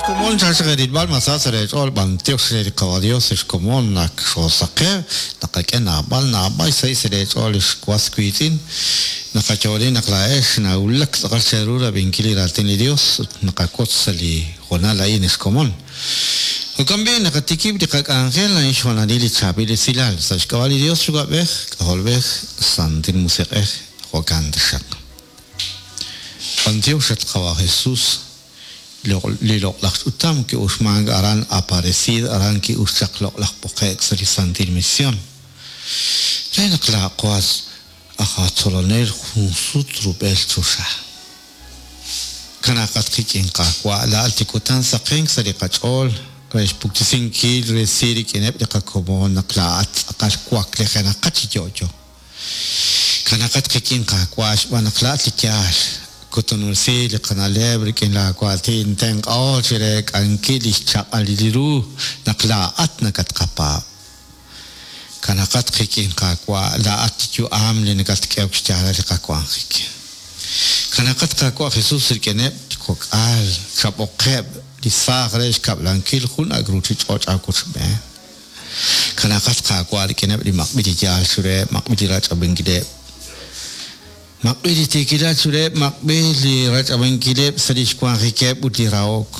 Xkomon chaq rilb'al ma sa sa' leech'ool b'antiox re li Qawa' Dios xkomon naq xoosaqew naqak'e naab'al naab'al xsahil sa' leech'ool li xwas wiitz'in naqayo'oni naq laa'ex nawulak tz'aqal cheru rab'inkil li raatin li Dios ut naqawotz sa' li hoonal a'in xkomon. Jo'kan b'i' naqatikib' li qak'anjel a'in xhoonalil li chaab'il esilal sa' xk'ab'a' li Dios Yuwa'b'ej, K'ajolb'ej, Santil Musiq'ej, jo'kan taxaq. B'antiox at Qawa' Jesus li loq'laj ch'utam ki'uxmank aran Aparecida aran ki'ux chaq loq'laj b'oqe'k sa' li Santil Mision. Re naq laa'qo aj atzolonel jun sut rub'el choxa. Kanaaqat qik'in Qaawa' laa'at li kutan saqenk sa' li qach'ool re xpuktesinkil resil rik'ineb' li qakomon naq laa'at tz'aqal waklijenaqat chi yo'yo. Kanaqat qik'in Qaawa' xb'aan naq laa'at li yaal. Kutunulsi li qana'leb' rik'in laawaatin, tenq'aho chi reek'ankil li xchaq'alil ru naq laa'at nakatqapaab'. Kanaqat qik'in Qaawa', laa'at li yu'am li nakatk'ehok xyaalal li qawanjik. Kanaqat Qaawa' Jesus rik'ineb' li kok'al, chab'oqeb' li saaj re xkab'lankil jun ak' ruuchich'och' aawochb'een. Kanaqat Qaawa' rik'ineb' li maq'b'il li yaal chiruheb', maq'b'il li rach'ab'ankileb'. Maq'b'il li tiikilal chiruheb', maq'b'il li rach'ab'ankileb' sa' lix wanjikeb' ut li rahok.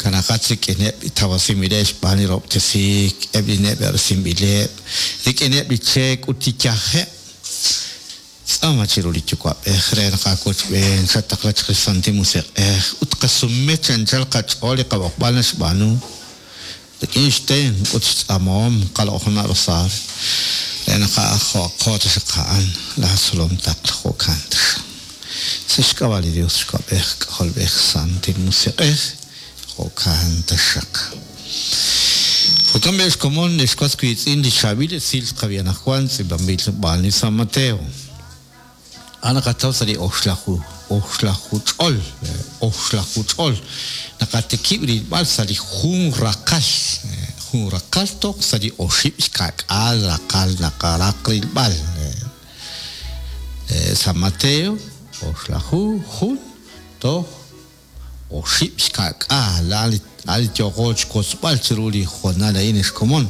Kanaqat rik'ineb' li tawasinb'ileb' xb'aan li rahob'tesiik, eb' li neb'e'resinb'ileb', rik'ineb' li cheek ut li yajeb'. Tz'aama chiru li Yuwa'b'ej re naq aawochb'een chataqla chaq li Santil Musiq'ej ut qasume chi anchal qach'ool li qab'oqb'al naxb'aanu rik'in xtenq' ut xtz'aamahom qaloq'jona' rosario re naq jo'aqo taxaq a'an laa tzolom taql jo'kan taxaq. Sa' xk'ab'a' li Dios Yuwa'b'ej, K'ajolb'ej, Santil Musiq'ej, jo'kan taxaq. Jo'kan b'i' xkomon ex was wiitz'in li chaab'il esil tqab'i anaqwan tz'iib'anb'il xb'aan li San Mateo. A'an naqataw sa' li oxlaju oxlaju ch'ol oxlaju ch'ol naqatikib' rilb'al sa' li jun raqal jun raqal toj sa' li oxib' xka'k'aal raqal naqaraq rilb'al. San Mateo oxlaju jun toj Oxib' xka'k'aal a'an li yooqo xwotzb'al chiru li hoonal a'in ex komon.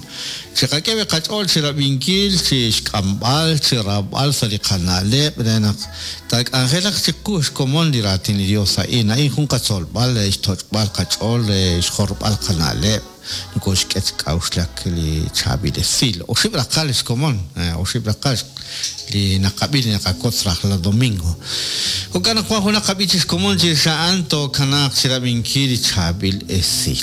Chiqak'e b'i qach'ool chi rab'inkil, chi xk'amb'al, chi rawb'al sa' li qana'leb' re naq taak'anjelaq chiqu xkomon li raatin li Dios a'in. A'in jun qatzolb'al re xtoch'b'al qach'ool, re xjorb'al qana'leb'. Nokoxk'e chi k'a'uxlak li chaab'il esil. Oxib' raqal xkomon, oxib' raqal li naqab'i li naqawotz rajlal domingo. Jo'kan naq wan junaq qab'i chi xkomon chirix a'an tookanaaq chirab'inkil li chaab'il esil.